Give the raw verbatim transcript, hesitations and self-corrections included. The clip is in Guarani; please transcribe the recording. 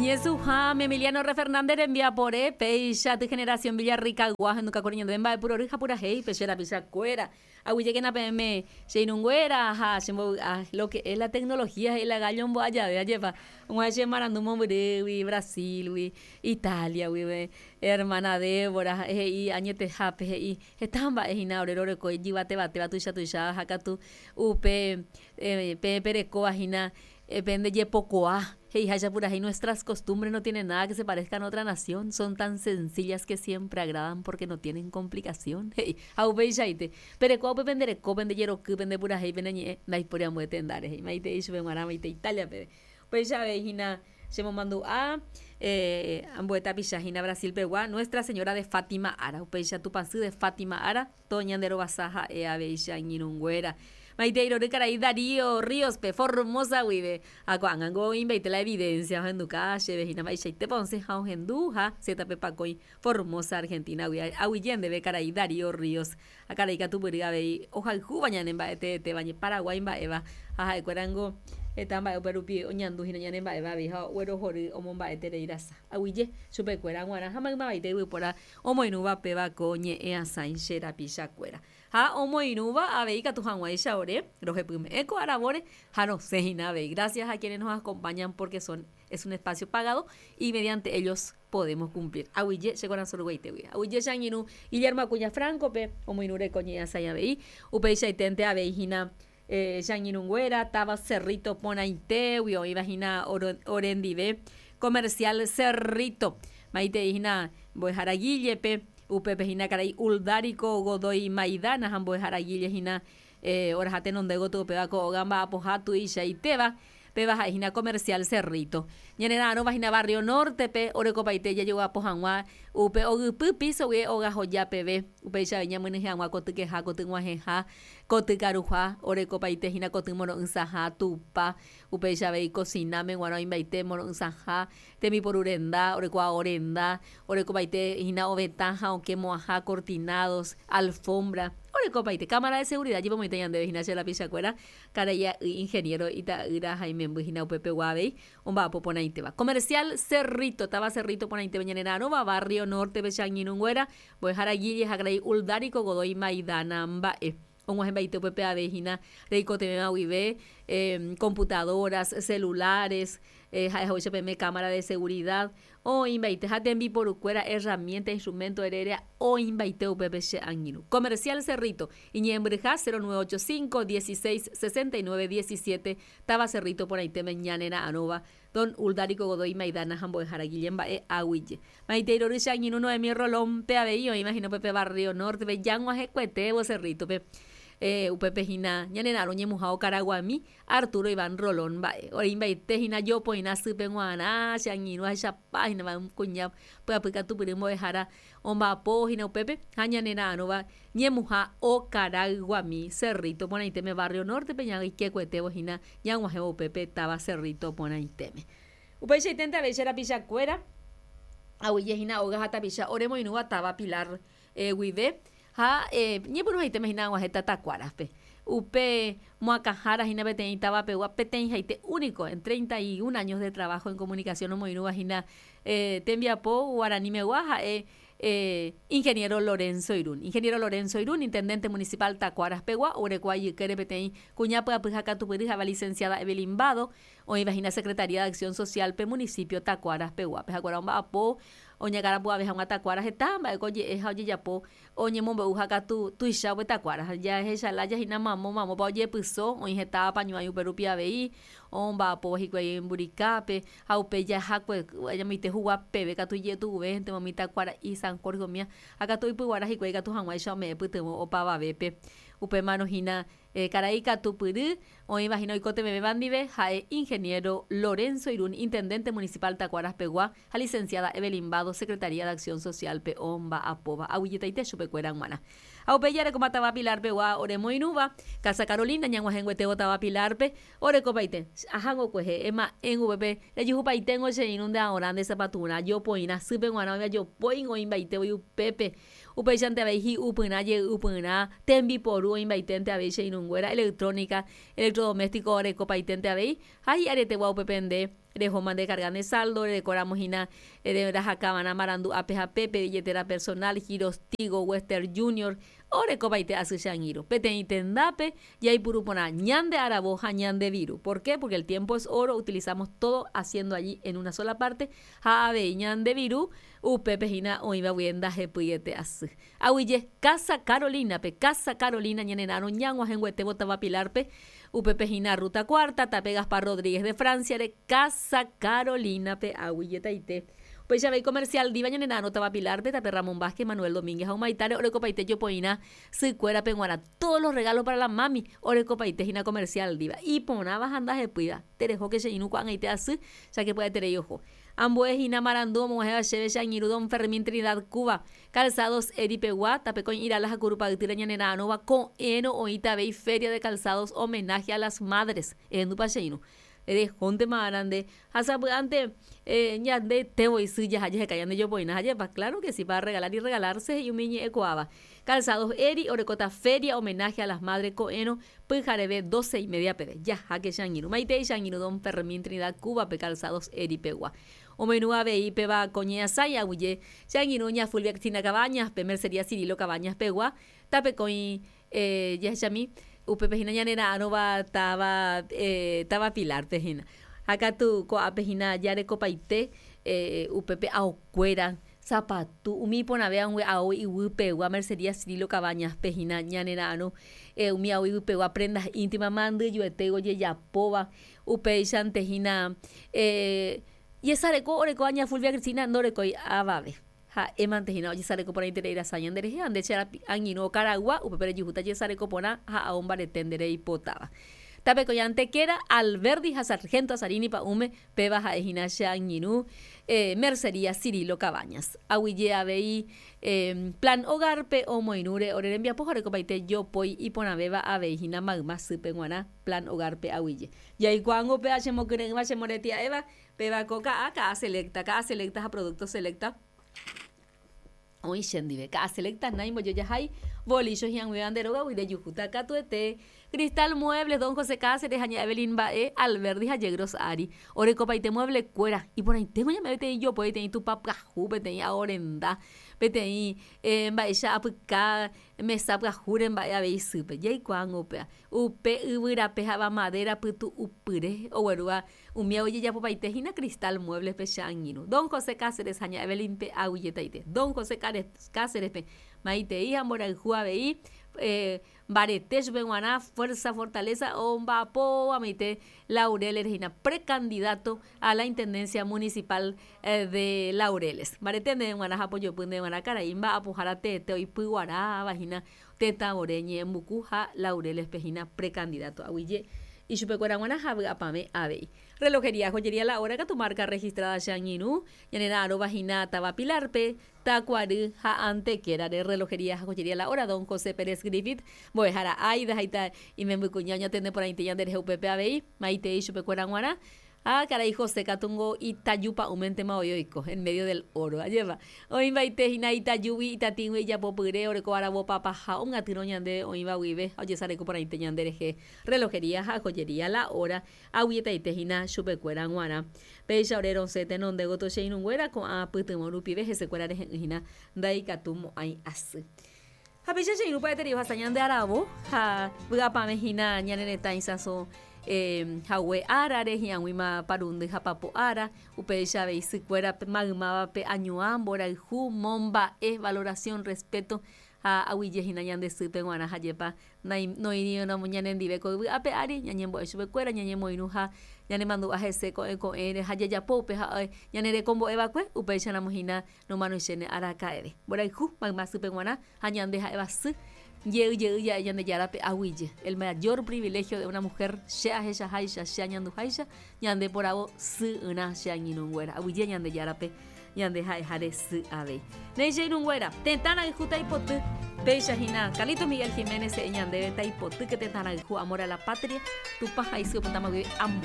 Ñesuhãme Emiliano R. Fernández rembiapore péicha ty generación Villarrica ohenduka kuri ñandéve mba'epurory ha purahéi pe che rapichakuéra aguyjékena peẽme che irũnguéra ha chembovy'a lo que es la tecnología he'i la gallo ombo'ajave ajépa og̃uahẽ che marandu mombyrýgui Brasil-gui Italia-guive hermana Débora he'i añetehápe he'i heta mba'e hína ore roreko ijyvatevatéva tuicha tuicha ha katu upe peẽ perekóva hína pendejepokuaa he'iháicha purahéi nuestras costumbres no tienen nada que se parezcan a otra nación son tan sencillas que siempre agradan porque no tienen complicación he'i ha upeichaite perekóva upe pendereko pendejeroky pendepurahéi peneñe'ẽ ndaipóri ambue tendáre he'i maitei chupe g̃uarã maitei Italia peve upéicha avei hína chemomandu'a ambue tapicha hína Brasil pegua Nuestra Señora de Fátima ára upéicha Tupãsy de Fátima ára toñanderovasa ha'e avei che angirũnguéra maitei rory karai Darío Ríos-pe Formosa guive ha ko'ág̃ango oĩmbaite la evidencia ohenduka chéve hína mba'eichaitépa osẽ ha ohendu ha zeta-pe pakõi Formosa Argentina-gui aguyje ndéve karai Darío Ríos ha karai katupyry avei ohayhúva ñane mba'eteetéva Paraguái mba'éva ha ha'ekuérango heta mba'e upe rupi oñandu hína ñane mba'éva avei ha oguerohory omomba'eterei rasa aguyje chupekuéra g̃uarã ha maymavaite yvypóra omoirũva péva ko ñe'ẽasãi che rapichakuéra ha omoirũva avei katu hag̃uáicha ore rohepyme'ẽ ko aravóre ha rosẽ hína avei gracias a quienes nos acompañan porque son es un espacio pagado y mediante ellos podemos cumplir aguyje che korasõ ruguaitégui aguyje che angirũ Guillermo Acuña Franco-pe omoirũre ko ñe'ẽasãi avei upeichaiténte avei hína che angirũnguéra táva Cerrito porãitégui oĩva hína orendive comercial Cerrito maitei hína mbo'ehára Guillepe upépe hína karai Uldarico Godoy Maidana ha mbo'ehára Guille hína oraha tenonde gotyo upéva ko óga mba'apoha tuichaitéva péva ha'e hína comercial Cerrito ñanera'arõva hína barrio Norte-pe orekopaite jajogapo hag̃ua upe ogypy piso-gui ogahoja peve upéicha avei ñamyenyhẽ hag̃ua kotykeha kotyg̃uahẽha kotykaruha orekopaite hína koty moro'ysãha tupa upéicha avei cocináme g̃uarã oĩmbaite moro'ysãha tembiporurenda orekóva orenda orekopaite hína ovetã ha okẽ mo'ãha cortinados alfombra orekopaite cámara de seguridad jepomoite ñandéve hína che rapichakuéra karai ingeniero ita'ýra ha imemby hína upepegua avei omba'apo porãitéva comercial Cerrito táva Cerrito porãitépe ñanera'arõva barrio Norte-pe che angirũnguéra mbo'ehára Guille ha karai Uldarico Godoy Maidana mba'e og̃uahẽmbaite upépe avei hína reikotevẽva guive computadoras, celulares ha'ehaguéicha peẽme cámara de seguridad oĩmbaite ha tembiporukuéra herramienta instrumento erérea oĩmbaite upépe che angirũ comercial Cerrito iñe'ẽmbyryha cero nueve ocho cinco dieciséis sesenta y nueve diecisiete táva Cerrito porãitéme ñanera'arõva don Uldarico Godoy Maidana ha mbo'ehára Guille mba'e aguyje maitei rory che angirũ Noemí Rolón-pe avei oĩva hína upépe barrio Norte-pe jag̃uahẽkuetévo Cerrito-pe upépe hína ñanera'arõ ñemuha Okaraguami Arturo Iván Rolón mba'e oĩmbaite hína jopoirã sýpe g̃uarã che angirũ ahechapa hína kuña pyapy katupyry mbo'ehára omba'apo hína upépe ha ñanera'arõva ñemuha Okaraguami Cerrito porãitéme barrio Norte-pe ñaikekuetévo hína ñag̃uahẽvo upépe táva Cerrito porãitéme upeichaiténte avei che rapichakuéra aguyje hína óga ha tapicha oremoirũva táva Pilar guive ha ñepyrũhaitéme hína ag̃uahẽta Takuárape upe moakãhára hína peteĩ távapegua peteĩhaite único en treinta y un años de trabajo en comunicación omoirũva hína tembiapo guaranimegua ha'e ingeniero Lorenzo Irún ingeniero Lorenzo Irún intendente municipal Takuáraspegua oguerekóva ijykére peteĩ kuña pyapy ha katupyry ha'éva licenciada Evelyn Bado oĩva hína Secretaría de Acción Social-pe municipio Takuáraspeguápe ha'ekuéra omba'apo oñakãrapu'ave hag̃ua Takuára heta mba'éko oje'e ha ojejapo oñemombe'u ha katu tuicha upe Takuára jahechalaya hína mamo mamópa ojepyso oĩ heta apañuãi upe rupi avei omba'apóva hikuái Mburikápe ha upe jahakue ñamoite huguapeve katu ijetu'uvénte umi Takuara'i San Jorge umía ha katu oipyguara hikuái katu hag̃uáicha ome'ẽ pytyvõ opavavépe upémarõ hína karai katupyry oĩva hína oikotevẽvéva ndive ha'e ingeniero Lorenzo Irún intendente municipal Takuáraspegua ha licenciada Evelyn Bado Secretaría de Acción Social-pe omba'apóva aguyjetaite chupekuéra g̃uarã ha upéi jarekóma táva Pilar-pegua oremoirũva Casa Carolina ñag̃uahẽnguetévo táva Pilar-pe orekopaite ahangokuehe ema'ẽ upépe rejuhupaitengo che irũ nde aorã nde sapaturã jopoirã sýpe g̃uarã oĩva jopói oĩmbaite voi upépe upéichante avei hi'upyrã jey'upyrã tembiporu oĩmbaiténte avei che irũnguéra electrónica electrodoméstico orekopaiténte avei ha hi'aretegua upépe nde Reho mande cargane saldo, recoramos hina de rajacabana marandu A P J P, billetera personal, Giros Tigo, Western Junior, orekopaite asy che angirũ. Peteĩ tendápe jaipuru porã ñande aravo ha ñande viru. ¿Por qué? Porque el tiempo es oro, utilizamos todo haciendo allí en una sola parte. Ha avei ñande viru upépe hína oĩva guive ndahepyiete asy. Aguyje Casa Carolina pe Casa Carolina ñanerãrõ ñag̃uahẽnguetévo táva Pilar-pe upépe hína Ruta Cuarta, tape Gaspar Rodríguez de Francia-re Casa Carolina pe aguyjetaite. Upéicha avei Comercial Diva ñanerãrõ táva Pilar-pe, tape Ramón Vázquez, Manuel Domínguez ha Humaitare orekopaite jopoirã sykuérape g̃uarã. Todos los regalos para la mami orekopaite hína Comercial Diva. Iporãva ha ndahepýiva. Terehóke che irũ ko'ag̃aite asy, cháke pya'eterei oho. Ambue hína marandu omog̃uahẽva chéve che angirũ Don Fermín Trinidad Cuba. Calzados Eripegua, tapekõi Irala ha Kurupa'ytýre ñanerãrõva ko'ẽrõ oĩta avei Feria de Calzados homenaje a las madres. Ehendúpa che irũ. Rehóntema arande ha sapy'ánte eh, ñande isy jaha jeheka ñande jopoirã hajépa. Claro que sí, para regalar y regalarse he'i umi ñe'ẽkuaáva. Calzados Eri orekóta feria homenaje a las madres ko'ẽrõ pyhareve doce y media peve. Jaháke che angirũ. Maitei che angirũ Don Fermín Trinidad Cuba pe Calzados Eripegua. Omoirũ avei péva ko ñe'ẽasái aguyje che angirũ ña Fulvia Cristina Cabañas pe Mercería Cirilo Cabañas pegua tapekõi eh, jahechami upépe hína ñanera'ãrõva táva eh, táva Pilar-pe hína. Ha katu ko'ápe hína jarekopaite eh, upépe aokuéra sapatu umi iporãve ao iguýpegua Mercería Cirilo Cabañas pe hína ñanera'ãrõ eh, umi ao iguýpegua prendas íntimas mandyjuete ojejapóva upéichante hína eh, jesareko orekóva ña Fulvia Cristina ndorekói avave. Ha'émante hína ojesareko porãiterei rasa ñanderehe ha nde che angirũ Okaragua upépe rejuhúta jesareko porã ha ao mbarete nde reipotáva. Tapekõi Antequera, Alberdi ha Sargento Azarini pa'ũme péva ha'ehína che angirũ eh, Mercería Cirilo Cabañas. Aguyje avei eh, Plan Hogar-pe omoirũre ore rembiapo ha orekopaite jopói iporãvéva avei hína mayma sýpe g̃uarã Plan Hogar-pe aguyje. Jaikuaángo péva chemokyre'ỹva chemoretia'éva péva ko ka'a, ka'a selecta, ka'a selecta ha producto selecta oĩ chendive. Ka'a selecta naimbojojahái bolicho hi'ag̃uivéva nde rógagui rejuhúta katuete. Cristal Muebles, Don José Cáceres ha ña Evelyn mba'e, Alberdi ha Yegros ári. Orekopaite mueble-kuéra, iporãiténgo ñame'ẽ peteĩ jopói, peteĩ tupa pyahu, peteĩ ao renda, peteĩ eh, mba'éicha apyka mesa pyahúre mba'e avei sýpe. Jaikuaángo upéva. Upe yvyrape ha'éva madera pytu'upyre oguerúva umi ojejapopaite hína Cristal Muebles-pe che angirũ. Don José Cáceres ha ña Evelyn-pe aguyjetaite. Don José Cáceres-pe maitei ha mborayhu avei eh, mbarete chupe g̃uarã fuerza, fortaleza omba'apo amaite Laureles hína precandidato a la Intendencia Municipal eh, de Laureles. Mbarete ndéve g̃uarã ha pojopy ndéve g̃uarã karai mba'apohára teete oipyguaráva hína tetãvore ñe'ẽmbuku ha Laureles-pe hína precandidato aguyje ichupekuéra g̃uarã ha vy'apavẽ avei. Relojería, joyería La Hora katu marca registrada che angirũ ñanera'ãrõva hína táva Pilar-pe, Takuary ha Antequera-re. Relojería, joyería La Hora, Don José Pérez Griffith, mbo'ehára Aida haita imembykuña oñatende porãite ñanderehe upépe avei, maitei chupekuéra g̃uarã. Ha karai José katungo itaju pa'ũmentema voi oiko en medio del oro. Ajépa. Oĩmbaite hína itajúgui itatĩgui ijapopyre oreko aravo papaha omyatyrõ ñande oĩva guive ha ojesareko porãite ñanderehe. Relojería ha joyería La Hora aguyjetaite hína chupekuéra g̃uarã. Péicha ore rosẽ tenonde gotyo che irũnguéra ko'ã pytyvõ rupive hesekuéra rehe'ỹ hína ndaikatumo'ãi asy. Ha péicha che irũ pya'eterei ohasa ñande aravo ha vy'apavẽ hína ñane retã isãso eh, hague árare hi'ag̃uíma parundy ha papo ára upéicha avei sykuéra maymávape añuã mborayhu momba'e valoración respeto ha aguyje hína ñande sýpe g̃uarã hajépa noĩramo ñanendive ko yvy ápe ári ñañembo'e chupekuéra ñañemoirũ ha ñanemandu'a hese ko'ẽ ko'ẽre ha jajapo upe ha ñanerekombo'eva'ekue upéicharamo hína nomanoichéne araka'eve. Mborayhu mayma sýpe g̃uarã ha ñande ha'éva sy jey jey ja'e Ñandejárape aguyje. El mayor privilegio de una mujer che ahechaháicha che añanduháicha ñande poravo sy'ỹrã che angirũnguéra. Aguyje Ñandejárape ñande ha'eháre sy avei. Néi che irũnguéra, tetã rayhu taipoty péicha hína Carlitos Miguel Jiménez he'i ñandéve taipotýke tetã rayhu amor a la patria Tupã ha isy opytáma guive ambue